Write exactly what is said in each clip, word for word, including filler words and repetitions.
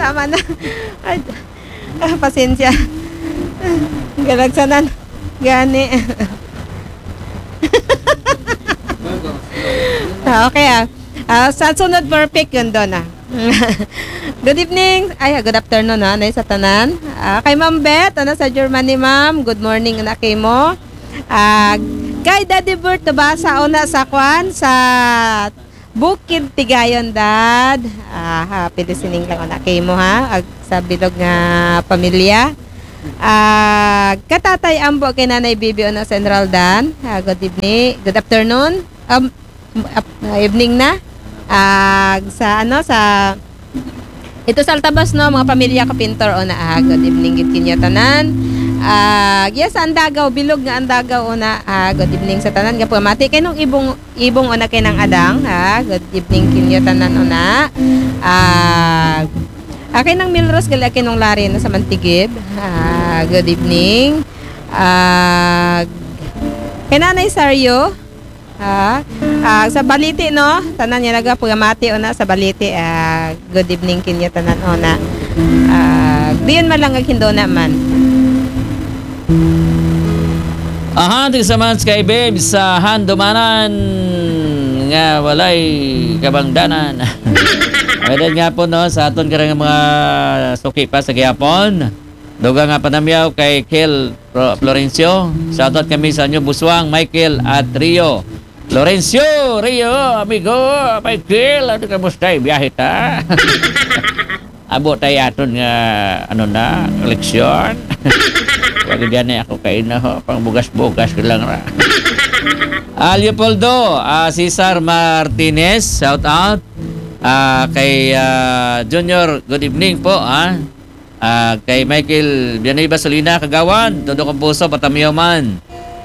Tama na. Ay, ah, pasensya. Galagsanan. Gani. Ah, okay, ah. Ah, sa sunod, perfect yun doon, ah. Good evening. Ay, good afternoon, ha, Nay, sa tanan. Ah, kay Ma'am Beth, ano, sa Germany, Ma'am. Good morning, una kay mo. Ah, kay Daddy Bert, nabasa, una, sa kwan, sa Bukid Tigayon, Dad. Ah, happy listening lang, una kay mo, ha. Ag, sa bilog nga pamilya. Ah, katatay Ambo kay Nanay Bibi, una, sa Enraldan. Ah, good evening. Good afternoon. Um, ap-, ah, evening na. Ah, sa ano, sa ito sa Altabas, no, mga pamilya ko, Pintor, o na, ah, good evening, gid kinyo tanan. Ah, yes, Andagaw, bilog nga Andagaw, o na, ah, good evening sa tanan. Gapo mati kay nung ibong, ibong, o na, kay nang adang, ha, good evening kinyo tanan, o na. Ah, ah, kay nang Milros, gali kay nung Lari na sa Mantigib. Ah, good evening. Ah, kay Nanay Sario, ha? Ah, sa Baliti, no? Tanan niya naga pugamati, una, sa Baliti. Ah, good evening kinyo tanan, una. Ah, diyon man lang ag Hindona man. Aha, di sa man kay Babe sa Handumanan nga walay kabangdanan. Pwede nga po, no, sa aton karang mga suki pa sa gihapon. Duga nga panamyaw kay Kel Pro-, Florencio. Shoutout kami sa inyo, Buswang, Michael, at Rio. Florencio, Rio, amigo, Michael, ano, kamusta? Biyahe ta? Abo tayo aton nga, ano na, eleksyon. Wag gani ako kay ina ho, pang bugas-bugas ko lang ra. Ah, Leopoldo, ah, Cesar Martinez, shout out. Ah, kay, ah, Junior, good evening po, ha. Ah, kay Michael Villanueva Solina, Kagawad, todo kong puso, patamiyo man.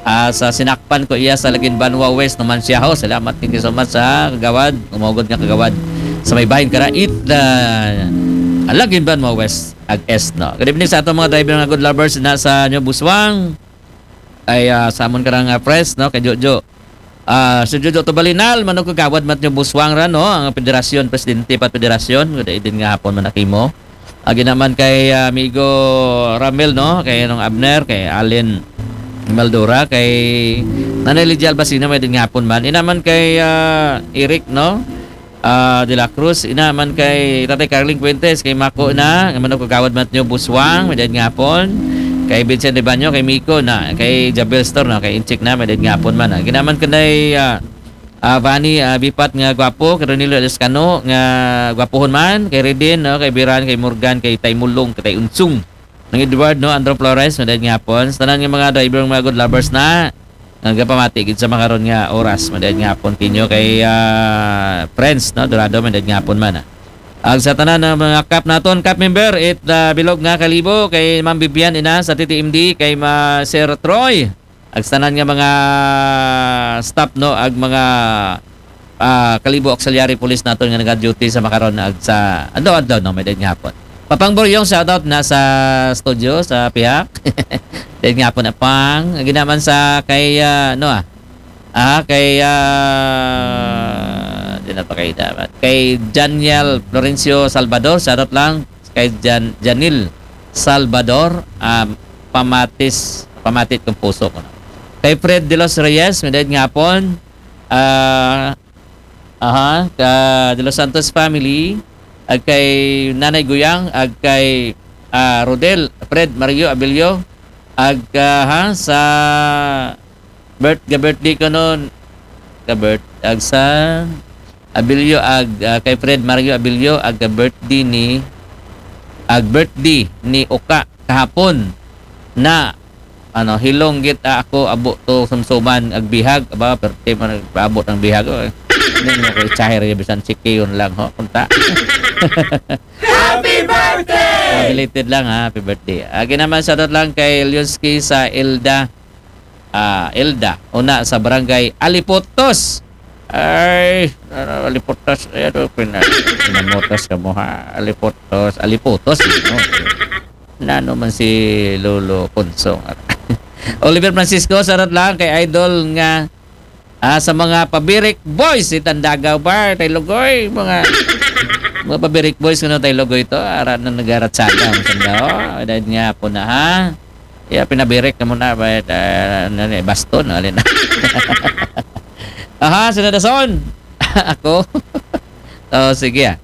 Ah, sa sinakpan ko iya sa Lagin Banwa West naman siya ho. Salamat, thank you so much, ha, Kagawad. Umugod nga Kagawad. Sa may bahin karait, ah, Lagin Banwa West, ag Est, no. Good evening sa atong mga driver nga good lovers na sa inyo, Buswang. Ay, ah, sa amon karang, ah, press, no, kay Jojo. Ah, si Jojo Tubalinal, manong Kagawad, mat nyo, Buswang ra, no, ang federasyon, presidente pa federasyon, good evening nga hapon man akimo. Agi naman kay, ah, amigo Ramel, no, kay anong Abner, kay Allen Maldura, kay Nanay Lydia Albacino, may din nga hapon man. Inaman kay, ah, Eric, no, ah, De La Cruz, inaman kay Tatay Carling Fuentes, kay Mako na, nga manong Kagawad, mat nyo, Buswang, may din nga hapon. Kay Vincent Ibanyo, kay Miko na, kay Jabel Store, no, kay Inchik na, may din nga hapon man. Ah, ginaman kanay, ah, ah, Vani, ah, Bipat nga gwapo, kay Ronilo Lescano nga gwapuhon man, kay Redin, no, kay Biran, kay Morgan, kay Tay Mulong, kay Tay Unsung. Nang Edward, no, Andrew Flores, madayad nga hapon. Sa tanan nga mga driver, mga good lovers na, nga gapamati gid sa makaron nga oras, madayad nga hapon kinyo kay, ah, friends, no, Dorado, madayad nga hapon man, ah. Ag sa tanan nga mga kap naton, kap member, it, ah, bilog nga kalibo, kay Ma'am Vivian, ina sa T T M D, kay Ma Sir Troy, ag sa tanan nga mga staff, no, ag mga, ah, Kalibo Auxiliary Police naton nga naga-duty sa makaron ag sa adlaw-adlaw, no, may din nga hapon. Papang Boryong, shout out na sa studio, sa pihak. Din nga hapon, Apang. Agi naman sa kay, ah, ano, ah, ah, kay, ah, di na pa kayo dapat. Kay Janiel Florencio Salvador, shout out lang. Kay Jan-, Janil Salvador, ah, pamatis, pamatit kong puso ko, no? Kay Fred De Los Reyes, may din nga hapon. Ah, aha, ka De Los Santos family, ag kay Nanay Guyang, ag kay, ah, Rodel, Fred Mario Abilio, ag, ah, ha, sa birth-, ga-birthday ko noon, ga-birth-, ag sa Abilio, ag, ah, kay Fred Mario Abilio, ag ga-birthday ni, ag birthday ni Oka kahapon na ano, hilong git, ah, ako, abo to sumsuman, ag bihag, aba, perte man, abot ang bihag, oh. Hindi mo ko i-share, bisan si Kiyon lang, ho, kunta. Happy birthday! Ah, belated lang, ha, happy birthday. Agi naman, shoutout lang kay Lyonski sa Elda. Ah, Elda, una sa barangay Alipotos. Ay, ano, Alipotos, ay, ano, pina-, pinamotos ka mo, ha? Alipotos, Alipotos, no? Nano man si Lolo Konsong. Oliver Francisco, sarot lang kay idol nga, ah, sa mga Pabirik Boys, si Tandagaw Bar, tay Lugoy, mga Mga pabirik boys, kuno tayo logo ito. Ara na nagaratsada. Ang sanda, oh. Dahil nga po na, ha? Ya, pinabirik na muna. Ba, uh, ano, eh, baston, alin na. Aha, sino na son? Ako? Oh, sige, ah.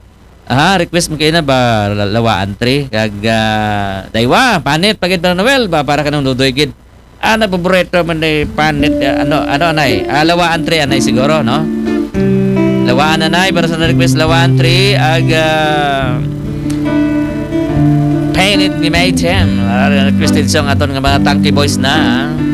Aha, request mo kayo na ba, la-, Lawaan Three? Kag, ah, Daywa, panit, pagid para Noel, ba, para ka ng Ludoy, gid. Ah, napaborito man ni panit, ah, ano, ano, anay? Ah, Lawaan Three, anay siguro, no? Lawaan, anay, para sa na-request, Lawaan Three, ag, ah, Painit ni Maytem. Ah, requested song aton nga mga Tangke Boys na, ah.